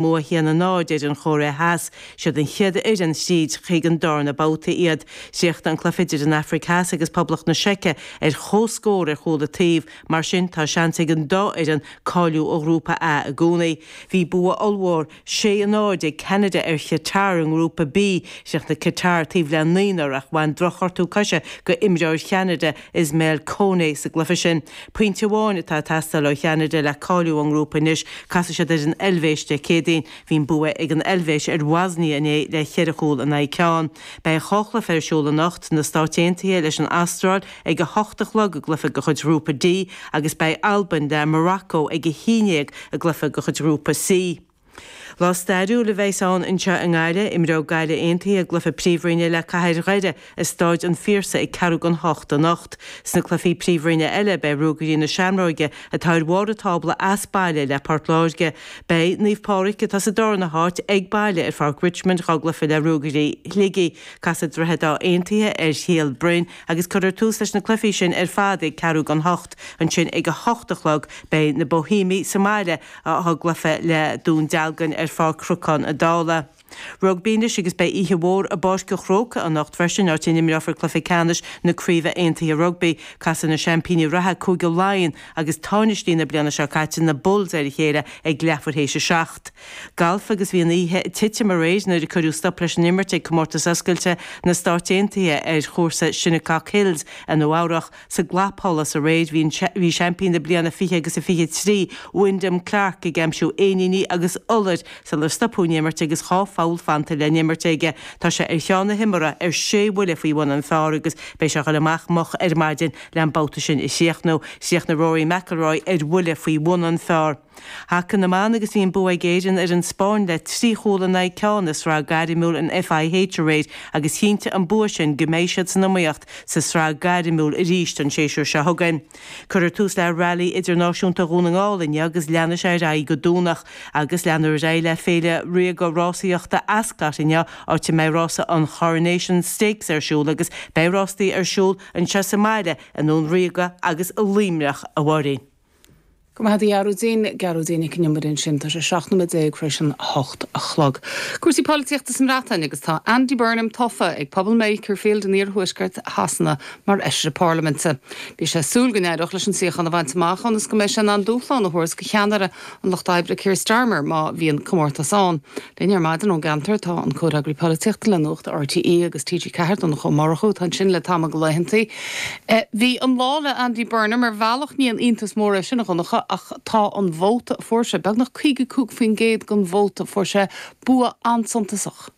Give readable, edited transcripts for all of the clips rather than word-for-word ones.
Bua 1-0 ar an Chóiré Theas. Siad an chéad fhoireann thríd chuig an darna babhta iad. Chríochnaigh an cluiche idir an Afraic Theas agus Poblacht na Seice ar comhscór ar chúl an taobh. Mar sin, tá seans ag an dá fhoireann cáiliú ó Ghrúpa A i gcónaí. Bhí bua ollmhór 6-0 ag Ceanada ar Chatar i nGrúpa B. Chríochnaigh Qatar taobh le naonúr ach bhain drochghortú coise go imreoir Cheanada, Ismaël Koné, sa gcluiche sin. Pointe amháin atá ag teastáil ó Cheanada le cáiliú ón ngrúpa anois. Casfaidh siad ar an Eilvéis Dé Céadaoin. Bhí an bua ag an Eilvéis ar Bhoisnia inné le cheithre chúl in aghaidh ceann. Beidh dhá chluiche ar siúl anocht, na Stáit Aontaithe leis an Astráil ag 8 a chlog i gcluiche de chuid Ghrúpa D agus beidh Albain le Morocco ag 11 i gcluiche de chuid Ghrúpa C. Lá stairiúil a bheas ann anseo i nGaillimh. Imreoidh Gaillimh Aontaithe a gcluiche Príomhroinne le Cathair Dhoire i Stáid an Phiarsaigh ag ceathrú don hocht anocht. Sna cluichí Príomhroinne eile beidh Ruagairí na Seamróige atá ar bharr an tábla as baile le Port Láirge. Beidh Naomh Pádraig atá sa darna háit ag baile ar Pháirc Richmond dhá gcluiche le Ruagairí Shligigh. Casfaidh Droichead Átha Aontaithe ar Shíol Broin agus cuirfear tús leis na cluichí sin ar fad ag ceathrú don hocht. Ansin ag a hocht a chlog beidh na Boihéamaigh sa mbaile dhá gcluiche le Dún Dealgan ar Pháirc Chnocán an Dála. Rugbaí anois agus beidh oíche mhór i bPáirc an Chrócaigh anocht freisin, áit a n-imreofar cluiche ceannais na Craoibhe Aontaithe Rugbaí. Casfaidh na seaimpíní reatha Cúige Laighean agus tánaistí na bliana seo caite, na Bulls, ar a chéile ag leathuair théis a seacht. Galf agus bhí an oíche ag titim aréir nuair a cuireadh stop leis an imirt ag Comórtas Oscailte na Stáit Aontaithe ar chúrsa Shinnecock Hills i Nua Eabhrach. Sa gclapsholas aréir bhí bhí seaimpín na bliana 20 agus a 23, Wyndham Clark ag aimsiú éiníní agus iolair sular stopadh an imirt agus 2 pholl fanta le n-imirt aige. Tá sé ar cheann na himeartha ar sé bhuille faoi bhun an phar agus beidh sé ag dul amach moch ar maidin le an babhta sin a chríochnú. Chríochnaigh Rory McIlroy ar bhuille faoi bhun an phar. Haca na mBan agus bhí an bua ag Éirinn ar an Spáinn le 3 chúl in aghaidh ceann i sraith gairmiúil an FIH aréir agus chinntigh an bua sin go mbeidh siad san iomaíocht sa sraith gairmiúil arís an séasúr seo chugainn. Cuirfear tús le Rally Idirnáisiúnta Dhún na nGall inniu agus leanfaidh sé ar aghaidh go Domhnach agus leanfar ar aghaidh le Féile Ríoga Rásaíochta Ascot inniu áit a mbeidh rása an Choronation Stakes ar siúl agus beidh rástaí ar siúl anseo sa mbaile i nDún Ríoga agus i Luimneach a Mháirín. Go maith a Ghearóidín, Gearóidín Nic an Iomaire ansin. Tá sé 17 nóiméad tar éis an 8 a chlog. Cúrsaí polaitíochta sa mBreatain agus tá Andy Burnham tofa ag pobal Makerfield in iarthuaisceart Shasana mar fheisire parlaiminte. Bhí sé ag súil go n-éireodh leis an suíochán a bhaint amach ionas go mbeidh sé in ann dúshlán a thabhairt do cheannaire an Lucht Oibre Keir Starmer má bhíonn comórtas ann. Linn ar maidin ón gceantar tá an comhfhreagraí polaitíochta le Nuacht RTÉ agus TG4, Donncha Ó Murchú, atá ansin le tamall de laethantaí. Bhí an lá le Andy Burnham, ar bhealach ní aon iontas mór é sin, a Dhonncha, ach tá an vóta a fuair sé, beagnach 55% den vóta, fuair sé bua an-suntasach.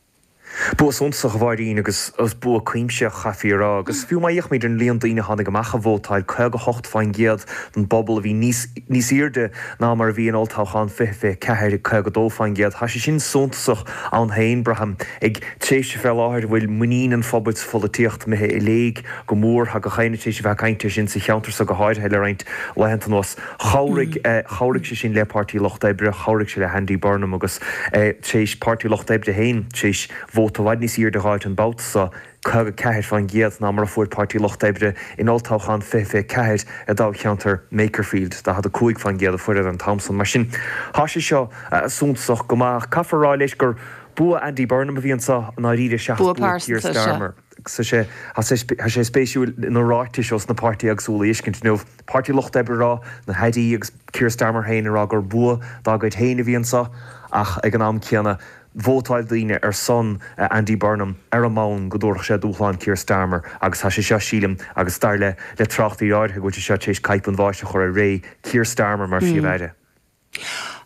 Bua suntasach, a Mháirín, agus bua cuimsitheach, chaithfí a rá. Agus fiú má fhéachaimid ar an líon daoine a tháinig amach a vótáil, 58% den bpobal, a bhí níos níos airde ná mar a bhí in olltoghchán 2024, 52%. Tá sé sin suntasach ann féin, braithim, ag tréimhse fé láthair a bhfuil muinín an phobail sa pholaitíocht imithe i léig go mór. Tá gach éinne tar éis a bheith ag caint air sin sa cheantar so go háirithe le roinnt laethanta anuas. Chabhraigh, chabhraigh sé sin le Páirtí Lucht Oibre, chabhraigh sé le hAndy Burnham agus tar éis Páirtí Lucht Oibre féin tar éis vóta i bhfad níos airde a dh'fháilt an babhta so, 54% ná mar a fuair Páirtí Lucht Oibre in olltoghchán 2024 i dtoghcheantar Makerfield, 45% a fuaireadar an t-am san. Mar sin, tá sé seo suntasach go maith ach caithfear a rá leis gur bua Andy Burnham a bhí anso i ndáiríre seachas Bua bua Keir pearsanta, sea. Starmer. Tá sé, tá sé spéisiúil na ráitis ós na páirtithe éagsúla a fheiscint inniu. Páirtí Lucht Oibre ag rá, na hairí agus Keir Starmer féin ag rá gur bua dá gcuid féin a bhí anseo ach ag an am céanna vótáil daoine ar son Andy Burnham ar an mbonn go dtabharfadh sé dúshlán Keir Starmer agus tá sé seo, sílim, agus dar le le tráchtairí áirithe go bhfuil sé seo tar éis caidhp an bháis a chur ar ré Keir Starmer mar Phríomh-Aire.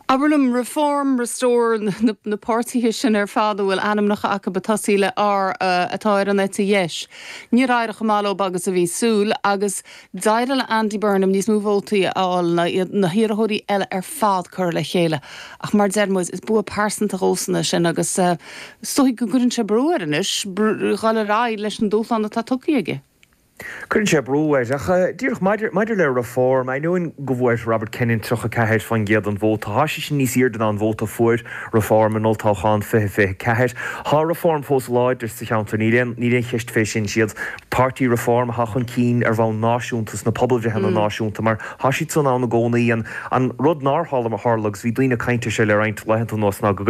Abair liom, Reform, Restore, na páirtithe sin ar fad a bhfuil ainmneacha acu ag tosaí le R atá ar an eite dheis. Níor éirigh chomh maith leo agus a bhí súil agus d'éirigh le Andy Burnham níos mó vótaí a fháil ná na hiarrthóirí eile ar fad curtha le chéile. Ach mar a deir muid, is bua pearsanta dhósan é sin agus is dóigh go gcuireann sé brú air anois dhul ar aghaidh leis an dúshlán atá tugtha aige. Cuireann sé brú air. Ach díreach maidir, maidir le Reform, ainneoin go bhfuair Robert Kenyon 34% den vóta, tá sé sin níos airde ná an vóta a fuair Reform in olltoghchán 2024. Tá Reform fós láidir sa cheantar, níl aon, níl aon cheist fé sin. Siad páirtí Reform atá chun cinn ar bhonn náisiúnta sna pobalbhreitheanna náisiúnta mar tá siad san ann i gcónaí. An, an rud nár tharla, tharla agus bhí daoine ag caint air seo le roinnt laethanta anuas ná go.